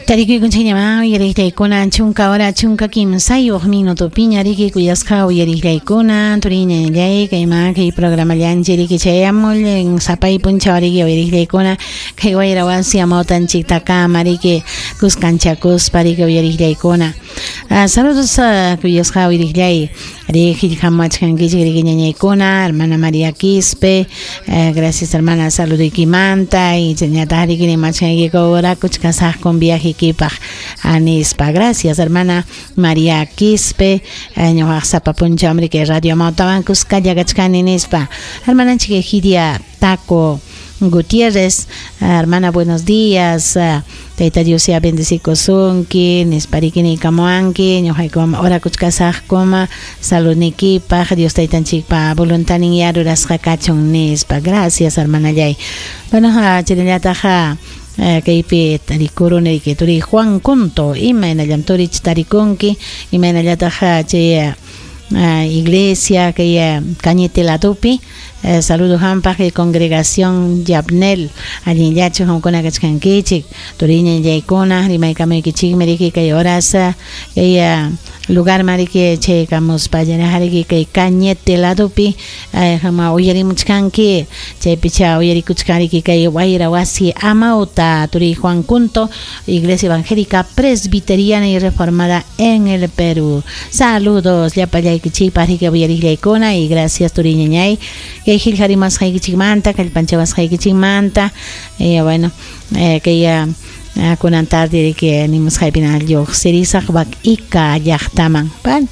Tarikuykunchikñamá uyariqllaykuna chunka hora chunka kimsayuq minutopiña riki kuyasqa uyariqllaykuna turiñallay kayman kay programallanchik riki chayamul sapay punchaw riki uyariqllaykuna kay wayra wasi amawtanchiktakama riki kuskanchakuspa riki uyariqllaykuna. Saludos kuyasqa uyariqllay riki qillqamuwachkankichik riki ñañaykuna hermana María Quispe, gracias hermana saludoykimanta y chaynataq riki rimachkankiku orakuchkasaqkum viajeykipaq nispa. Gracias hermana María Quispe, ñuqaq sapa punchawmi riki radio amawtawan kuskalla kachkani nispa. Hermananchik Egidia Taco Gutiérrez, hermana buenos días, Tayta Dios ya bendecikusunki nispa riki niykamuwanki ñuqaykum orakuchkasaqkum saludniykipaq Dios Taytanchikpa voluntanin ya rurasqa kachun nispa. Gracias hermanallay. Bueno, chaynallataq kaypi tarikuruni riki turiy Juan Cunto, imaynallam turich tarikunki, imaynallataq chay iglesia kay Cañete ladopi. Saludos hampaq kay congregación Yabnel, allinllachu qamkuna kachkankichik turiñallaykuna rimaykamuykichikmi riki kay horas kay lugarman riki chaykamuspa riki kay Cañete ladopi qama uyarimuchkanki chaypicha uyarikuchkan riki kay wayra wasi amawta turiy Juan Cunto, Iglesia Evangélica Presbiteriana y Reformada en el Perú. Saludos llapallaykichikpaq riki uyariqllaykuna y gracias turiñañay kay qillqarimasqaykichikmanta kallpanchawasqaykichikmanta. Bueno, kay kunan tarde riki nimusqaypina lluqsirisaq Ika llaqtaman. Bueno,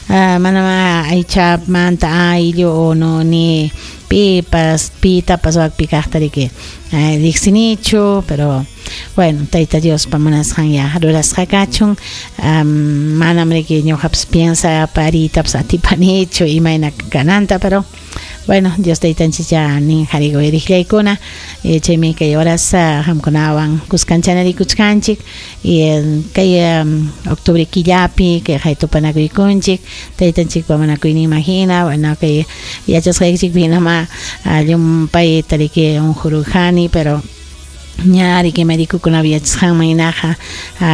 manama aychamanta ayllu o no ni pipas pitapas wakpi kaqta riki riqsinichu, pero bueno, Tayta Diospa munasqan ya rurasqa kachun. Manam riki ñuqapas piensa paritapas atipanichu imayna kananta, pero bueno, Dios Taytanchik ya nin hariqa uyariqllaykuna chaymi kay horas qamkunawan kuskanchanarikuchkanchik y kay octubre killapi kay haytupanakuykunchik Taytanchikpa munakuyninman hina. Bueno, kay yachasqaykichikpi hinama llumpayta riki unqururqani, pero ña riki médicokunapi yachasqanman hinaqa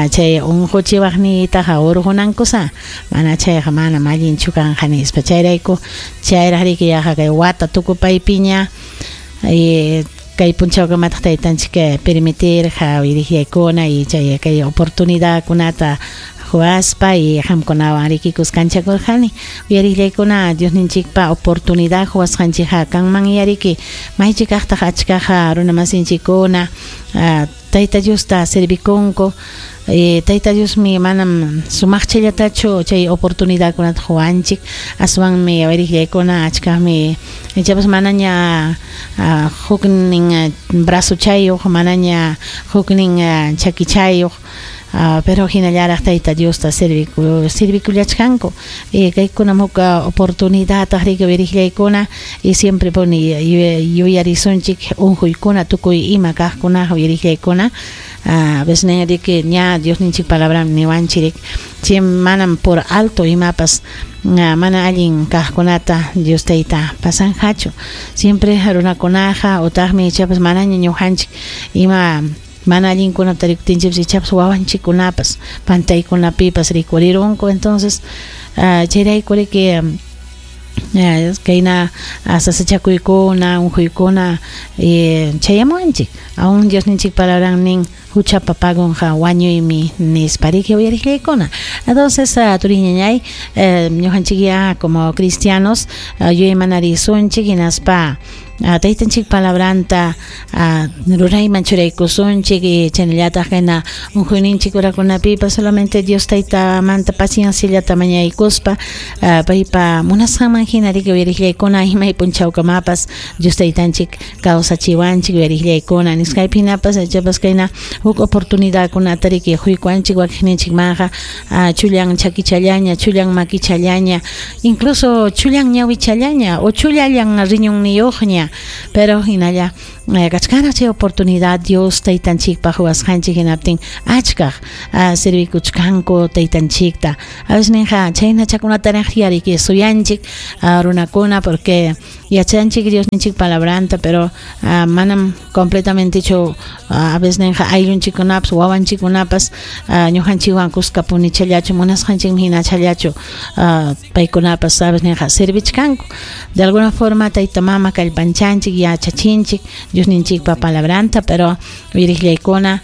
chay unquchiwaqniytaqa urqunankusa, mana chayqa manam allinchu kanqa nispa. Chayrayku chayraq riki yaqa kay wata tukupaypiña kay punchawkamataq Taytanchik permitirqa uyariqllaykuna y chay kay oportunidadkunata huaspa y qamkunawan riki kuskanchakurqani uyariqllaykuna Diosninchikpa oportunidad huasqanchikqa kanman yariki maychikaqtaq achkaqa runamasinchikkuna Tayta Diosta servikunku. Tayta Diosmi manam sumaqchallatachu chay oportunidadkunata huwanchik, aswanmi uyariqllaykuna achkaqmi ichapas manaña huknin brazochayuq, manaña huknin chakichayuq, pero hinallaraq Tayta Diosta servikullachkanku. Kaykunam huk oportunidadtaq riki uyariqllaykuna y siempre puni yuyarisunchik unquykuna tukuy ima kaqkunaqa uyariqllaykuna. A veces riki ña Diosninchik palabram niwanchik chay manam por alto imapas mana allin kaqkunata Dios Tayta pasanqachu. Siempre runakunaqa utaqmi ichapas manaña ñuqanchik ima mana allinkunata rikutinchikpas ichapas wawanchikkunapas pantaykunapipas rikurirunku. Entonces chayrayku riki kayna sasachakuykuna unquykuna chayamuwanchik. Aún Diosninchik palabran nin huchapa pagunqa wañuymi nispa riki uyariqllaykuna. Entonces turiñañay ñuqanchik ya como cristianos yuyaymanarisunchik hinaspa Taytanchik palabranta rurayman churaykusunchik y chaynallataq kayna unquyninchik urakunapipas solamente Dios Taytamanta pacienciallata mañaykuspa paypa munasqanman hina riki uyariqllaykuna imay punchawkamapas Dios Taytanchik kawsachiwanchik uyariqllaykuna nisqaypi hinapas ichapas kayna huk oportunidadkunata riki huykuwanchik wakiqninchikmanqa chullan chakichallaña, chullan makichallaña, incluso chullan ñawichallaña o chullallan riñunniyuqña, pero hinalla kachkanraq chay oportunidad Dios Taytanchikpaq huwasqanchik hinaptin achkaq servikuchkanku Taytanchikta. A veces ninqa chaynachakunataraq yariki suyanchik runakuna, porque Yachanchik Diosninchik palabranta, pero manam completamentechu a veces ninqa ayllunchikkunapas wawanchikkunapas ñuqanchikwan kuska punichallachu munasqanchikmi hinachallachu paykunapas sabes ninqa servichkanku. De alguna forma tayta mama kallpanchanchik yachachinchik Diosninchikpa palabranta, pero uyariqllaykuna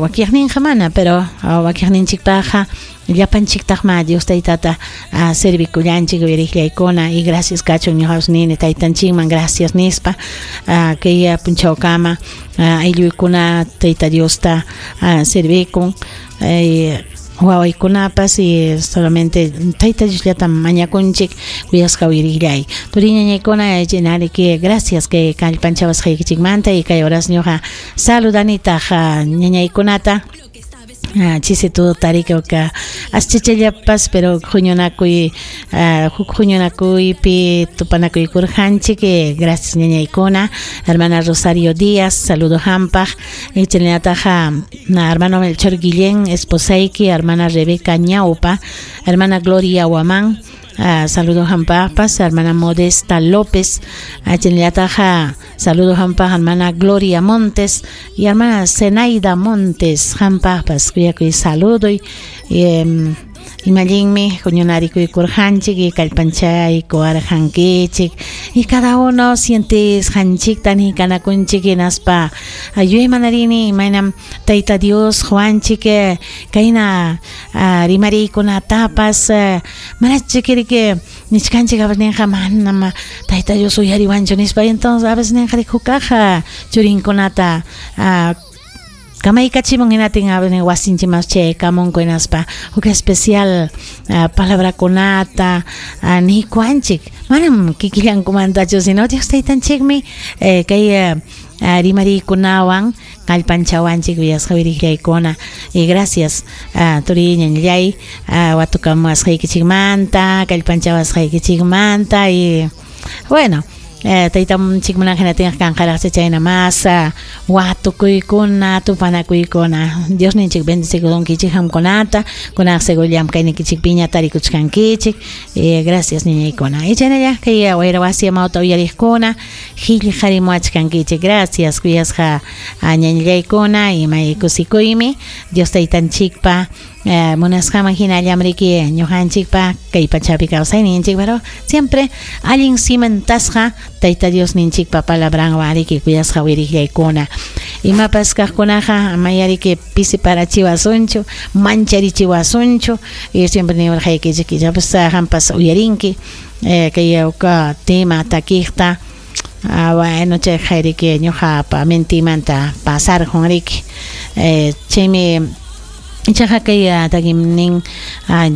wakiqninqa mana, pero wakiqninchikpaqqa llapanchiktaqma Dios taytata servikullanchik uyariqllaykuna y gracias kachun ñuqapas nini taytanchikman gracias nispa kay punchawkama aylluykuna tayta Diosta servikun wawaykunapas y solamente tayta Diosllatam mañakunchik kuyasqa uyariqllay. Turi ñañaykuna chinariki gracias kay kallpanchawasqaykichikmanta y kay horas ñuqa saludanitaq ñañaykunata chisi tutarikuka aschachallapas pero huñunakuy huk huñunakuypi tupanakuykurqanchik gracias ñañaykuna hermana Rosario Díaz saludo hampaq chaynallataq hermano Melchor Guillén esposayki hermana Rebeca Ñaupa hermana Gloria Huamán saludo hampaqpas hermana Modesta López chaynallataq saludo hampaq hermana Gloria Montes y hermana Zenaida Montes hampaqpas kuyakuy saludoy imallinmi huñunarikuykurqanchik y kallpanchaykuwarqankichik y cada uno sientisqanchikta niykanakunchik hinaspa yuyaymanarini imaynam tayta Dios Juanchik kayna rimariykunatapas manachikiriki nichkanchik a veces ninqa manam tayta Dios uyariwanchu nispa entonces a veces ninqa hukaq churinkunata kamaykachimun hinatin a veces wasinchikman chaykamunku hinaspa huk especial palabrakunata niykuwanchik manam kikillankumantachu sino Dios taytanchikmi kay rimariykunawan kallpanchawanchik uyasqa uyariqllaykuna y gracias turi ñañallay watukamuwasqaykichikmanta kallpanchawasqaykichikmanta y bueno taytanchikmuna hinatinqa kanqaraqcha chayna mas watukuykuna tupanakuykuna Diosninchik bendecikudunkichik qamkunata kunaq seguro llamkaynikichikpiña tarikuchkankichik gracias niñaykuna y chaynalla kay wayra wasi amawta uyariqkuna qillqarimuwachkankichik gracias kuyasqa ñañallaykuna imay kusikuymi Dios taytanchikpa munasqaman hinallam riki ñuqanchikpa kay pachapi kawsayninchik pero siempre allin cimentasqa tayta Diosninchikpa palabranwan riki kuyasqa uyariqllaykuna imapas kaqkunaqa amayariki pisiparachiwasunchu mancharichiwasunchu y siempre niwarqaykichik ichapas qampas uyarinki kay tema takiqta bueno chayqa riki ñuqapa mentimanta pasarqun riki chaymi ichaqa kay takim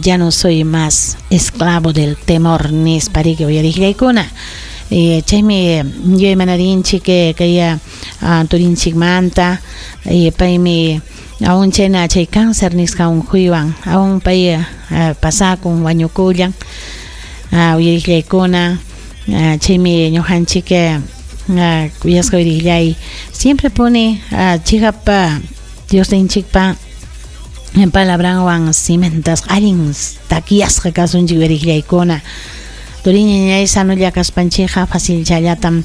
ya no soy más esclavo del temor nispa riki uyariqllaykuna chaymi yuyaymanadinchik kay turinchikmanta paymi aún chayna chay cáncer nisqa unquywan aún pay pasakun wañukullan uyariqllaykuna chaymi ñuqanchik kuyasqa uyariqllay siempre pone chiqapa Diosninchikpa palabranwan cimentasqa allin takyasqa kasunchik uyariqllaykuna turiñañay sanulla kaspanchikqa facilchallatam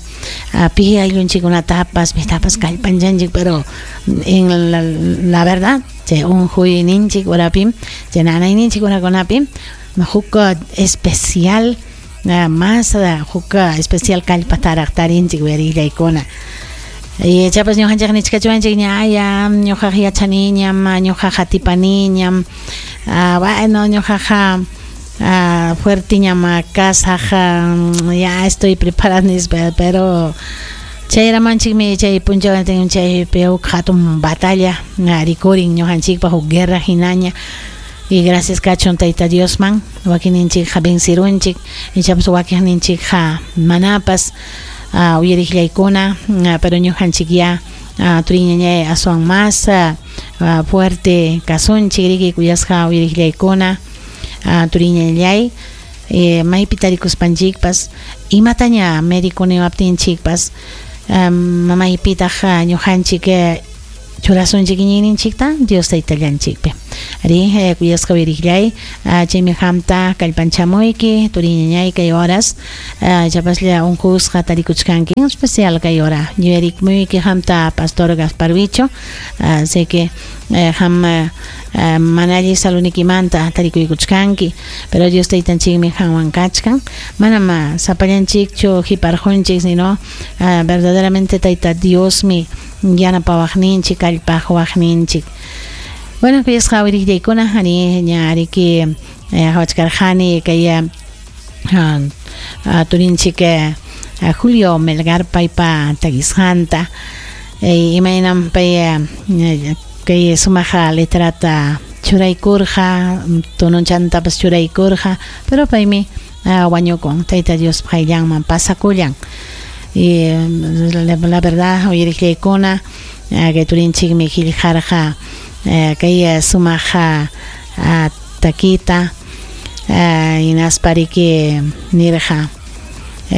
pi ayllunchikkunatapas pitapas kallpanchanchik pero en la verdad chay unquyninchik urapim chay nanayninchik urakunapim huk especial más huk especial kallpataraq tarinchik uyariqllaykuna y chapas ñuqanchik nichkachuwanchik ña ya ñuqaqa yachaniñam ñuqaqa atipaniñam bueno ñuqaqa fuertiñam kasaq ya estoy preparada nispa pero chayramanchikmi chay punchawtin chaypi huk hatun batalla rikurin ñuqanchikpaq huk guerra hinaña y gracias kachun tayta Diosman wakinninchikqa vencirunchik ichapas wakiqninchikqa manapas uyariqllaykuna pero ñuqanchik ya turiñañay aswan más fuerte kasunchik riki kuyasqa uyariqllaykuna turiñañay maypi tarikuspanchikpas imataña médico niwaptinchikpas maypitaq ñuqanchik churasunchik iñiyninchikta Dios taytallanchikpi Ari kuyasqa uyariqllay, chaymi qamta kallpanchamuyki turiñañay kay horas chapaslla unqusqa tarikuchkanki, en especial kay hora yuyarikmuyki qamta Pastor Gaspar Wicho, sé que qam mana allin salunikimanta tarikuykuchkanki, pero Dios taytanchikmi qanwan kachkan, manam sapallanchikchu hiparqunchik, sino verdaderamente Tayta Diosmi yanapawaqninchik, kallpaqwaqninchik. Bueno, kuyasqa uyariqllaykuna, ari ña ariki qawachkarqani kay turinchik Julio Melgar paypa takisqanta, imaynam pay kay sumaq letrata churaykurqa, tononchantapas churaykurqa, pero paymi wañukun, Tayta Diospa qayllanman pasakullan. Y la verdad uyariqllaykuna, kay turinchikmi qillqarqa kay sumaq takita, hinaspa riki nirqa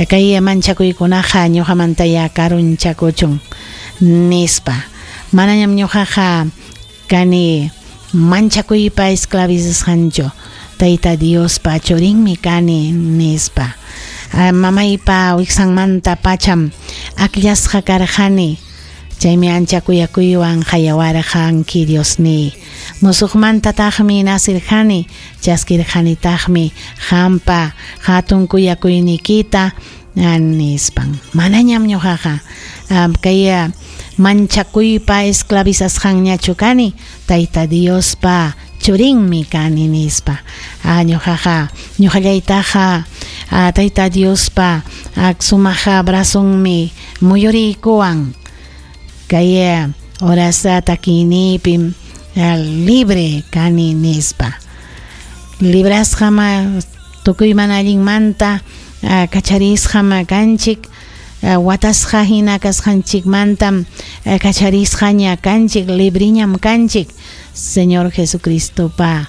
kay manchakuykunaqa ñuqamantaya karunchakuchun nispa, manañam ñuqaqa kani manchakuypa esclavizasqanchu, Tayta Diospa churinmi kani nispa. Mamaypa wiksanmanta pacham akllasqa karqani, chaymi ancha kuyakuywan qayawarqanki Diosniy. Musuqmantataqmi nasirqani, chaskirqanitaqmi qampa hatun kuyakuyniykita nispan. Manañam ñuqaqa kay manchakuypa esclavizasqanñachu kani, Tayta Diospa churinmi kani nispa. Ñuqaqa ñuqallaytaqa Tayta Diospa sumaq brazonmi muyuriykuwan, kay horas takiyniypim libre kani nispa. Librasqam tukuy mana allinmanta kacharisqam kanchik, watasqa hina kasqanchikmantam kacharisqaña kanchik, libriñam kanchik, Señor Jesucristopa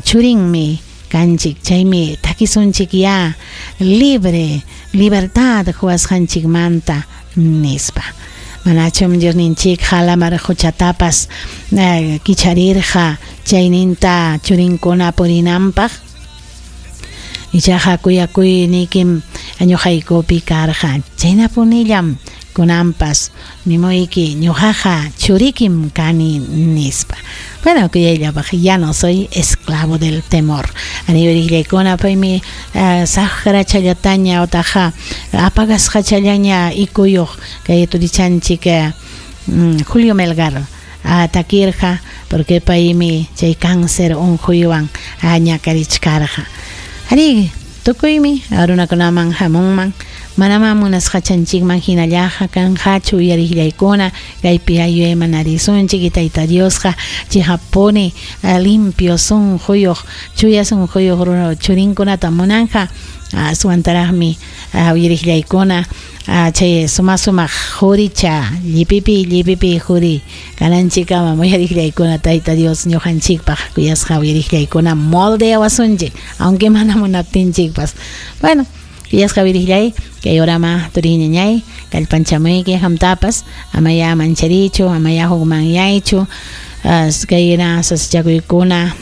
churinmi kanchik. Chaymi takisunchik ya libre, libertad huwasqanchikmanta nispa. Manachum Diosninchik lamar quchatapas kicharirqa chayninta churinkuna purinanpaq, ichaqa kuyakuyniykim ñuqaykupi karqa, chaynapunillam kunanpas nimuyki ñuqaqa churikim kani nispa. Bueno, kuyayllapaq, ya no soy esclavo del temor. Aniyuriqllaykuna, paymi saqrachallataña otaqa apagasqachallaña ikuyuq kay turichanchik Julio Melgar takirqa, porque paymi chay cáncer unquywan ñakarichkarqa. Ari tukuymi runakunaman hamunman, manamá munasqachanchikman hinallaqa kanqachu uyariqllaykuna, kaypi yuyaymanarisunchik y Tayta Diosqa chihapuni limpio sunquyuq, chuya sunquyuq churinkunata munanqa. Aswantaraqmi uyariqllaykuna chay suma sumaq quricha llipipi llipipi quri kananchikkama uyariqllaykuna Tayta Dios ñuqanchikpaq kuyasqa uyariqllaykuna moldeawasunchik, aunque mana munaptinchikpas. Bueno, kuyasqa uyariqllay, kay horama turiñañay kallpanchamuyki qamtapas, amaya mancharichu, amaya hukmanyaychu, kayna sasachakuykuna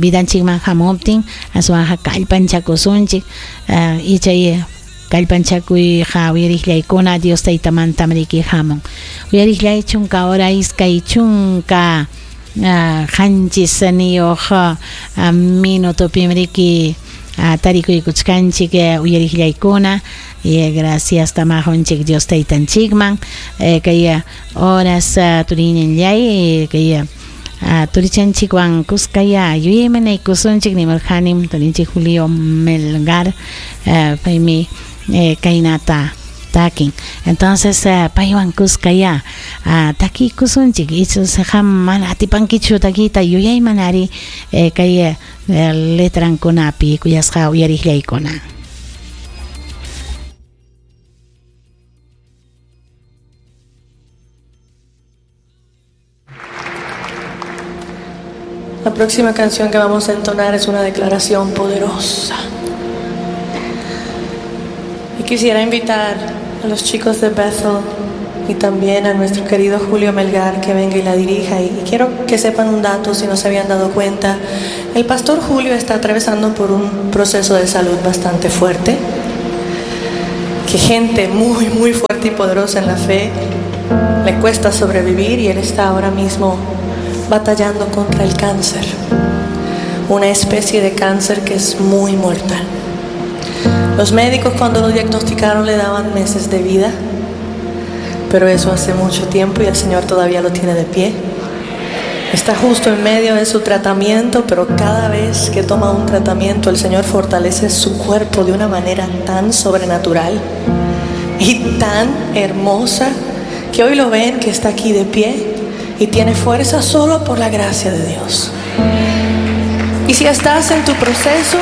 vidanchikman hamuptin aswanqa kallpanchakusunchik, y chay kallpanchakuyqa uyariqllaykuna Dios taytamantam riki hamun. Uyariqllay chunka hora iskay chunka qanchis niyuq minutopim riki tarikuykuchkanchik uyariqllaykuna. Y gracias tamajunchik Dios taytanchikman kay horas turiñanllay kay turichanchikwan kuskaya yuyaymanaykusunchik nimurqanim turinchik Julio Melgar, paymi kaynata takin. Entonces paywan kuskaya takikusunchik, ichus qam mana atipankichu takita yuyaymanari kay letrankunapi kuyasqa uyariqllaykuna. La próxima canción que vamos a entonar es una declaración poderosa. Y quisiera invitar a los chicos de Bethel Y también a nuestro querido Julio Melgar que venga y la dirija. Y quiero que sepan un dato si no se habían dado cuenta. El pastor Julio está atravesando por un proceso de salud bastante fuerte. Que gente muy, muy fuerte y poderosa en la fe le cuesta sobrevivir y él está ahora mismo batallando contra el cáncer. Una especie de cáncer que es muy mortal. Los médicos cuando lo diagnosticaron le daban meses de vida, pero eso hace mucho tiempo y el Señor todavía lo tiene de pie. Está justo en medio de su tratamiento, pero cada vez que toma un tratamiento, el Señor fortalece su cuerpo de una manera tan sobrenatural y tan hermosa que hoy lo ven que está aquí de pie y tiene fuerza solo por la gracia de Dios. Y si estás en tu proceso,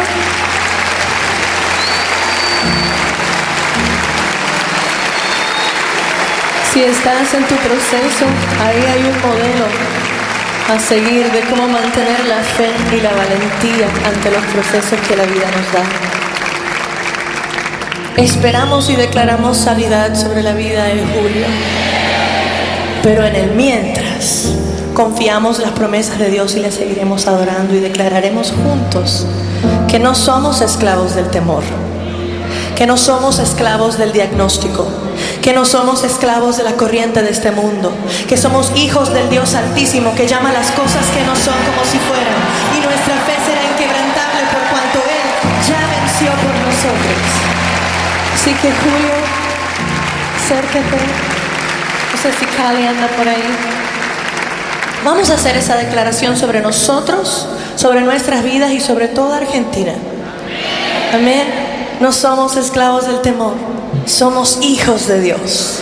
si estás en tu proceso, ahí hay un modelo a seguir de cómo mantener la fe y la valentía ante los procesos que la vida nos da. Esperamos y declaramos sanidad sobre la vida de Julio, pero en el mientras confiamos las promesas de Dios y le seguiremos adorando y declararemos juntos que no somos esclavos del temor, que no somos esclavos del diagnóstico, que no somos esclavos de la corriente de este mundo, que somos hijos del Dios Altísimo que llama las cosas que no son como si fueran, y nuestra fe será inquebrantable por cuanto Él ya venció por nosotros. Así que Julio, acércate. No sé si Cali anda por ahí. Vamos a hacer esa declaración sobre nosotros, sobre nuestras vidas y sobre toda Argentina. Amén. No somos esclavos del temor, somos hijos de Dios.